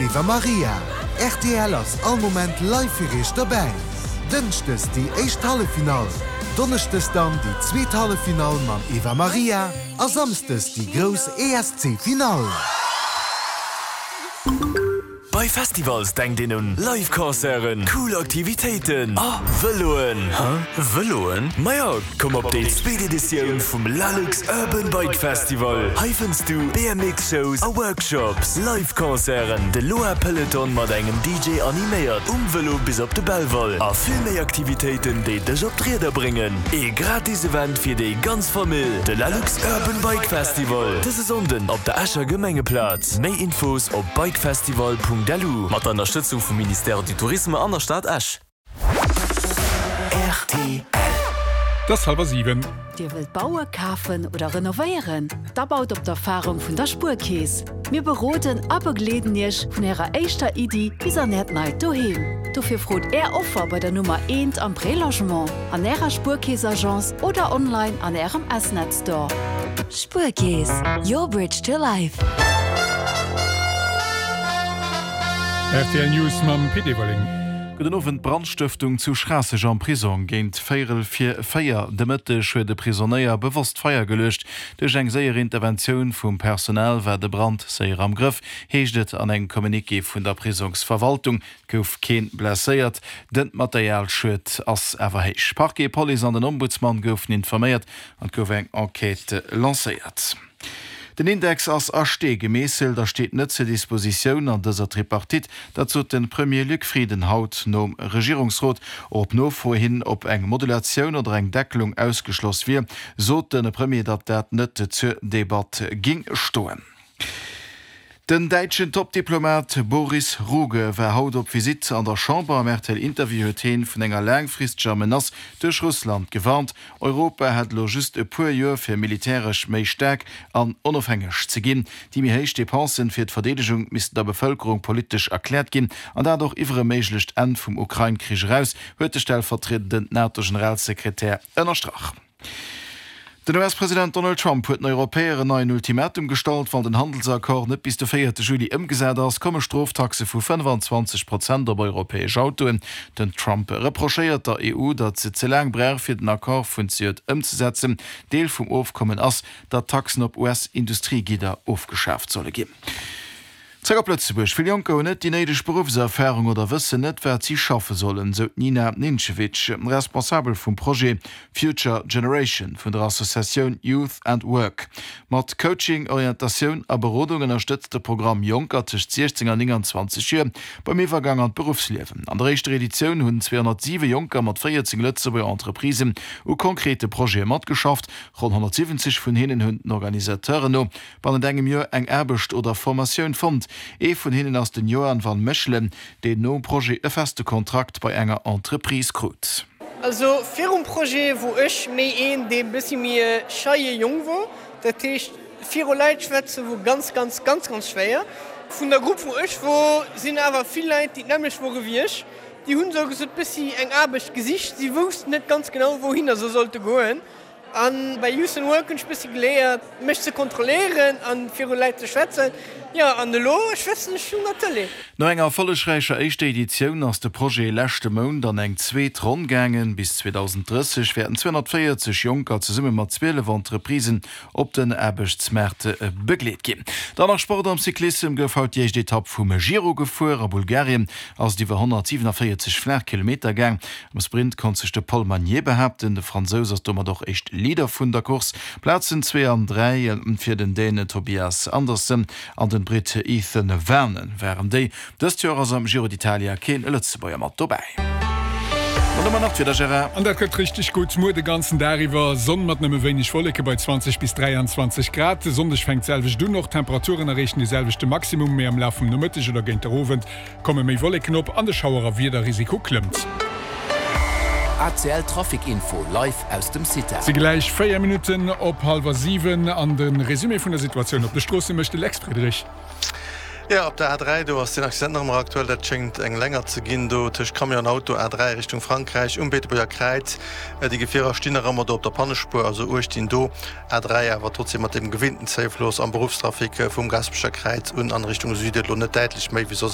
Eva Maria. Rtl ass all Moment live fir iech dobäi. Dënschdes déi éischt Halleffinall, Donneschdes dann déi zweet Halleffinall mam Eva Maria a Samsdes déi grouss ESC Finall. Bei Festivals denkt een un Live Concerten, cool Aktivitéiten a Vëloen. Hä? Vëloen? Majo, komm op déi zweet Editioun vum Lalux Urban Bike Festival. Hei fënns du BMX Shows a Workshops, Live Concerten, de Loa Peloton mat engem DJ animéiert um Vëlo bis op de Belval a vill méi Aktivitéiten déi dech op d'Rieder bréngen. Ee gratis Event fir déi ganz Famill, de Lalux Urban Bike Festival, dëse Sonnden op der Escher Gemengeplaz. Méi Infos op bikefestival.lu. Mat der Ënnerstëtzung vum Ministère du Tourisme an der Stad Esch. Rtl. Et ass hallwer 7. Dir wëllt baue, kafen oder renovéieren? Da baut op d'Erfarung vun der Spuerkeess. Mir beroden a begleeden Iech vun Ärer éischter Iddi bis an Äert neit Doheem. Dofir frot Är Offer bei der Nummer eent am Prélogement, an Ärer Spuerkeess-Agence oder online an Ärem S-Net Store. Spuerkeess, your bridge to life. Rtl News mam Pit Everling. Gudden Owend. Brandstëftung zu Schraasseg am Prisong. Géint véierel vir 4 de Mëtteg huet e Prisonéier bewosst Feier geluecht. Duerch eng séier Interventioun vum Personal war de Brand séier am Grëff, heescht et an engem Communiqué vun der Prisongsverwaltung. Et gouf keen blesséiert, den Materialschued ass awer héich. Parquet, Police an den Ombudsman goufen informéiert an et gouf eng Enquête lancéiert. Den Index ass a Stee gemeesselt a steet net zur Dispositioun an dëser Tripartite. Dat sot de Premier Luc Frieden haut nom Regierungsrot. Och op Nofro hin, ob eng Modulatioun oder eng Deckelung ausgeschloss wier, sot de Premier, datt dat net zur Debatt géing stoen. Den däitschen Top-Diplomat Boris Ruge war haut op Visitt an der Chamber. Am RTL-Interview huet heen vun enger laangfristeger Menace duerch Russland gewarnt. Europa hätt elo just e puer Joer fir militäresch méi staark an onofhängeg ze ginn. Déi méi héich Depensen fir d'Verdeedegung missten der Bevëlkerung politesch erkläert ginn, an dat och iwwer e méiglecht Enn vum Ukrain-Krich eraus, huet de stellvertriedenden NATO-Generalsekretär ënnerstrach. Den US-President Donald Trump huet den Europäer en neien Ultimatum gestallt, Wann den Handelsaccord net bis de véierte Juli ëmgesat ass, komme Stroftaxe vu 25 Prozent op europäesch Autoen. Den Trump reprochéiert der EU, datt se ze laang brauch, fir den Accord vun zejoert ëmzesetzen. Deel vum Ofkommen ass, datt Taxen op US-Industriegidder ofgeschaaft solle ginn. Zréck op Lëtzebuerg. Vill Jonker hunn net déi néideg Beruffserfarung oder wëssen net, wat si schaffe sollen, sou d'Nina Nincevic, Responsabel vum Projet Future Generation vun der Associatioun Youth and Work. Mat Coaching, Orientatioun a Berodung ënnerstëtzt de Programm Jonker tëscht 16 an 29 Joer beim Iwwergang an d'Beruffsliewen. An der éischter Editioun hunn 207 Jonker mat 14 Lëtzebuerger Entreprisen u konkrete Projete matgeschafft. Ronn 170 vun hinnen hunn den Organisateuren no bannent engem Joer eng Aarbecht oder Formatioun fonnt. Ee vun hinnen ass den Johan van Mechelen, deen nom Projet e feste Kontrakt bei enger Entreprise krut. Also virum Projet wor ech méi een dee bëssi méi e scheie Jong wor, dat heescht viru Leit schwätze wor ganz ganz ganz ganz schwéier. Vun der Grupp wou ech wor sinn awer vill Leit déi d'nämmlecht wore wéi ech, déi hunn esou gesot bëssi eng Aarbecht gesicht, si woussten net ganz genau wouhinner se sollte goen. An bei Youth and Work hunn ech bëssi geléiert mech ze kontrolléieren an viru Läit ze schwätzen. Jo an elo schwätzen ech un der Tëlee. No enger erfollegräicher éischter Editioun ass de Projet leschte Mount an eng zweet Ronn gaangen. Bis 2030 wäerten 240 Jonker zesumme mat 12 Entreprisen op den Aarbechtsmaart begleet ginn. Dann nach Sport, Am Cyclissem gouf haut déi éischt Etapp vum Giro gefuer. A Bulgarien ass et iwwer 147 Flaachkilometer gaang. Am Sprint konnt sech de Paul Magnier behaapten. De Fransous ass domat och éischt Leader vun der Course. Plazen zwee an 3 fir den Däne Tobias Andersen an den Britt Ethan Vernon waren déi. Dëst Joer ass am Giro d'Italia keen Lëtzebuerger mat dobäi. An domat nach d'Wieder, Gérard. An dat gëtt richteg gutt. Muer de ganzen Dag iwwer Sonn mat nëmme wéineg Wolleke bei 20 bis 23 Grad. De Sonndeg fänkt d'selwecht un, och d'Temperaturen erreechen de selwechte Maximum, mee am Laf vum Nomëtteg oder géint der Owend Komme méi Wolleken op an de Schauer a Wiederrisiko klëmmt. ACL Trafic Info live aus dem CITA. Si gläich 4 Minutten op hallwer 7 an de Resumé vun der Situatioun op de Stroosse mécht de Lex Friedrich. Jo, op der A3, do ass deen Accident nach ëmmer aktuell. Dat schéngt eng länger ze ginn do tëscht Camion an Auto, A3 Richtung Frankräich um Beetebuerger Kräiz. Déi Gefierer stinn nach ëmmer do op der Pannespuer, also uecht dinn do. A3 awer trotzdem mat dem gewinnten Zéifloss am Beruffstrafic vum Gaasperecher Kräiz un an Richtung Süden elo net däitlech méi wéi soss.